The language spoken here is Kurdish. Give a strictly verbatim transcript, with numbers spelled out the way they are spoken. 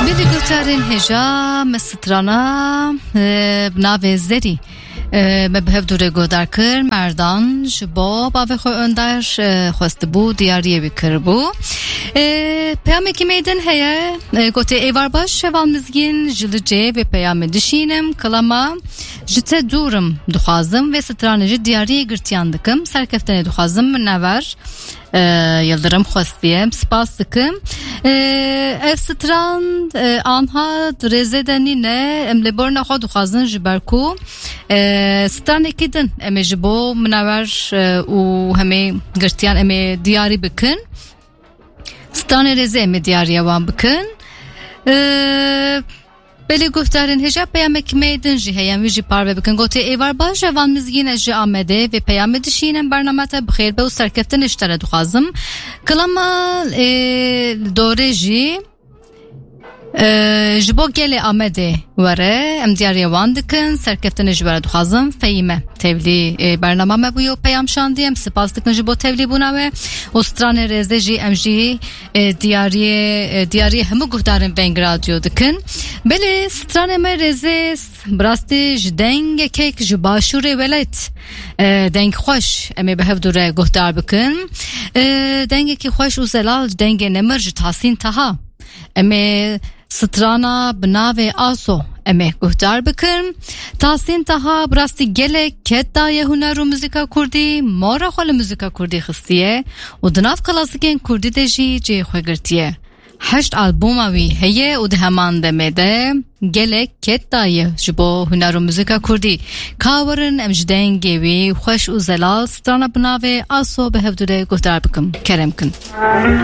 Belê guhdarên hêja, me strana, e, bi navê Zerî, e, me bi hev dû re guhdar kir. Merdan ji bo bavê xwe Önder, e, xwestibû, diyariyê wî kiribû. E, peyamekî me din heye, e, gotê, "Êvar baş, heval Mizgîn, ji Licê vê peyamê dişînim, kilama ji te dûr im, dixwazim vê stranê ji diyariyê girtiyan dikim, serkeftinê dixwazim, minever." E, Yildirim xwestiye. Em spas dikim. E, ev stran, e, anha di rêzê de nîne. Em lê borna xwe dixwazin ji ber ku, e, stranekî din em ê ji bo minewer, e, û hemê girtiyan em ê diyarî bikin. Stranê rêzê em ê diyariya wan bikin. E, Belê guhdarên hêja, peyamekî me din jî heye, em wî jî parve bikin. Gotê, "Êvar baş, heval Mizgîn, ez ji Amedê vê peyamê dişînim, bernama te bi xêr be û serkeftinê ji te re dixwazim. Kilama, e, dorê jî, e, ji bo gelê Amedê were, em diyariya wan dikin, serkeftinê ji we re dixwazim." Fehîme tevlî, e, bernama me bûyo, peyam şandî, em spas dikin ji bo tevlî bûna we û stranê rêzê jî em jî e, diyariyê, e, diyariyê hemû guhdarên Veng Radyo dikin. Belê stranê me rêzê s-, bi rastî ji dengekek ji başûrê welat, e, deng xweş em ê bi hev dû re guhdar bikin. E, dengekî xweş û zelal, dengê nemir ji Tahsîn Taha. Em ê strana bi navê Aso em ê guhdar bikin. Tahsîn Taha bi rastî gelek ket daye huner û muzîka kurdî, mora xwe li muzîka kurdî xistiye û di nav klasikên kurdî de jî cihê xwe girtiye. Heşt albûma wî heye û di heman demê de gelek ket daye ji bo huner û muzîka kurdî. Ka werin em ji dengê wî xweş û zelal strana bi navê Aso bi hev dû re guhdar bikin. Kerem kin.